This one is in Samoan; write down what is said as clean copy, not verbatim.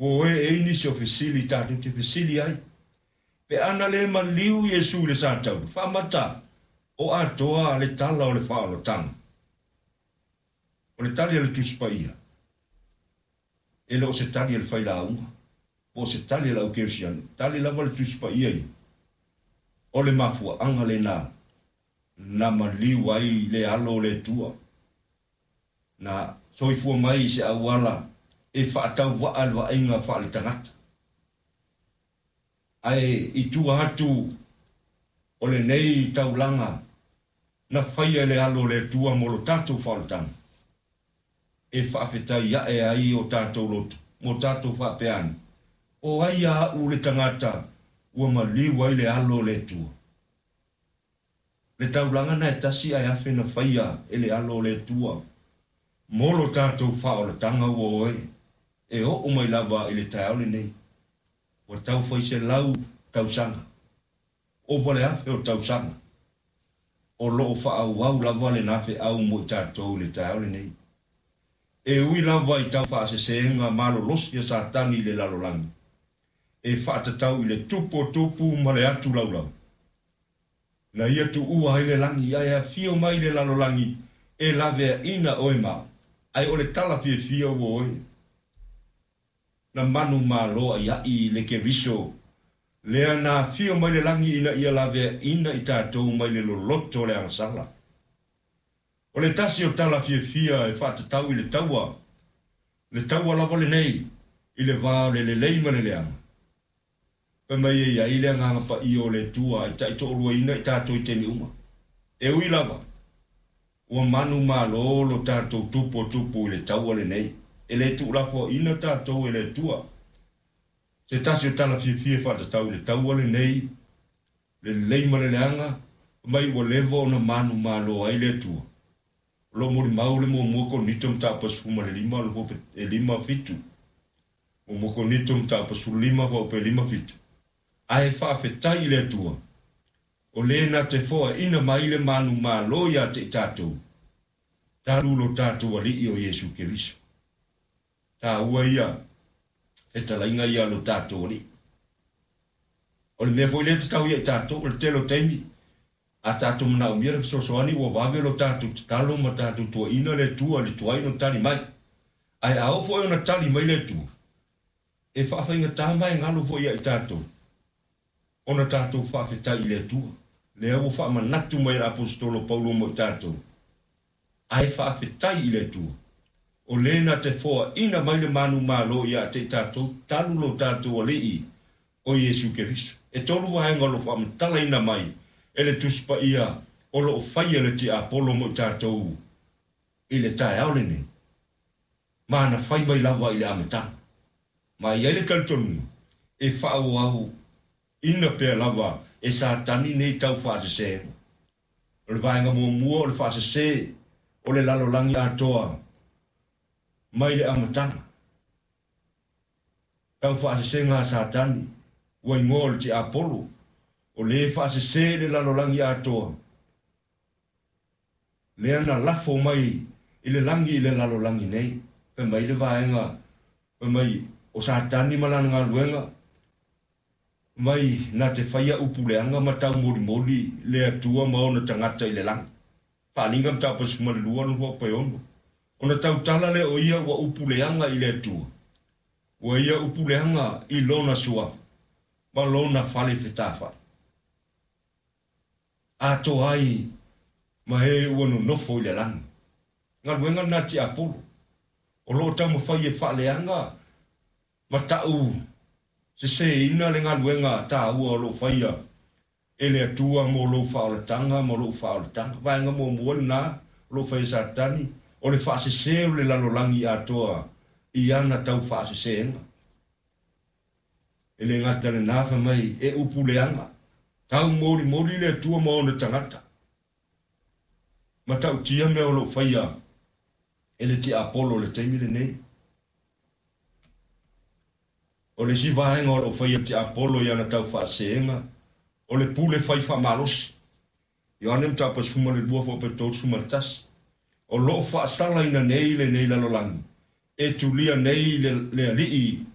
Ua oe e i ai nisi o fesili tatou te fesili ai, Pe ana le maliu Iesu i le sataula, faamata o atoa le tala o le faaolataga. O le tali a le Tusi Paia, e le o se tali a le failauga, po o se tali a le au kerisiano, tali lava le Tusi Paia ia, o le mafuaaga lena na maliu ai le Alo o le Atua, na soifua mai i se auala e faatauvaa le vaaiga faaletagata. Ae i tua atu o lenei taulaga na faia e le Alo o le Atua mo lo tatou faaolataga, e faafetai ae ai o tatou loto mo tatou faapea ane, O ai a au le tagata ua maliu ai le Alo o le Atua? Le taulaga na e tasi ae afe na faia e le Alo o le Atua mo lo tatou faaolataga ua oe e oo mai lava i le taeao lenei. Ua tau fai 100 tausaga, ova le 1,000 o tausaga, o lo o faaauau lava lena feau mo i tatou i le taeao lenei. E ui lava i tau faasesega malolosi a Satani i le lalolagi, e faatatau i le tupu o tupu ma le atu laulau, na ia tuua ai le lagi ae afio mai le lalolagi e laveaina oe ma au. Ae o le tala fiafia ua oe na manumalo aiaʻi le Keriso lea na afio mai le lagi ina ia laveaina i tatou mai le loloto o le agasala. O le tasi o tala fiafia e faatatau i le taua, le taua lava lenei i le va o le lelei ma le leaga. Fai mai e i ai le Agaga Paia o le Atua e taitoaluaina i tatou i taimi uma. E ui lava, ua manumalo lo tatou tupu o tupu i le taua lenei, e le tuulafoaina tatou e le Atua. Se tasi o tala fiafia e faatatau i le taua lenei, le lelei ma le leaga, fai mai ua leva ona manumalo ai le Atua. O lo o molimau le muamua Korinito mataupu 15 o le 5 7. Muamua Korinito mataupu 15 faaope 5 7. Ae faafetai i le Atua, o le na te foaina mai le manumalo ia te i tatou, talu lo tatou Alii o Iesu Keriso. Taua ia fetalaiga ia lo tatou Alii. O le mea foi lea e tatau ia i tatou, o le tele o taimi, a tatou manaomia le fesoasoani ua vave lo tatou tatalo ma tatou tuuaina le Atua i le tuai ona tali mai. Ae a oo foi ona tali mai le Atua, e faafaigata ma e galo foi ia i tatou ona tatou faafetai i le Atua. Lea ua faamanatu mai e le Aposetolo Paulo mo i tatou, ae faafetai i le Atua, o le na te foaina mai le manumalo ia te i tatou talu lo tatou Alii o Iesu Keriso. E tolu vaega o lo o faamatalaina mai e le Tusi Paia o lo o faia le tiapolo mo i tatou i le taeao lenei, ma na fai mai lava i le amataga. Ma e i ai le talitonuga e faaauauina pea lava e Satani nei tau faasesega. O le vaega muamua o le faasese o le lalolagi atoa mai le amataga. Tau faasesega a Satani, ua igoa o le tiapolo, o le faasese le lalolagi atoa, lea na lafo mai i le lagi i le lalolagi nei. Fai mai le vaega, fai mai o Satani ma lana galuega, mai na te faia upu leaga ma taumolimoli le Atua ma ona tagata i le lagi. Faaaliga mataupu 12 no 6. Ona tautala lea o ia ua upu leaga i le Atua, ua ia upu leaga i lona suafa ma lona fale fetafai. Atoa ai ma e ua nonofo i le lagi. Galuega lena tiapolo, o lo o taumafai e faaleaga ma tau seseina le galuega taua o lo o faia e le Atua mo lou faaolataga ma lou faaolataga. Vaega muamua lena o lo o faia e Satani, o le faasese o le lalolagi atoa i ana tau faasesega. E le gata lena, fai mai e upu leaga, tau molimoli le Atua ma ona tagata, ma tautia mea o lo o faia e le tiapolo o le taimi lenei. O le isi vaega o lo o faia e le tiapolo i ana tau faasesega, o le pule fai faamalosi. Ioane mataupu 12 faaope 31. O lo o faasalaina nei lenei lalolagi, e tulia nei le alii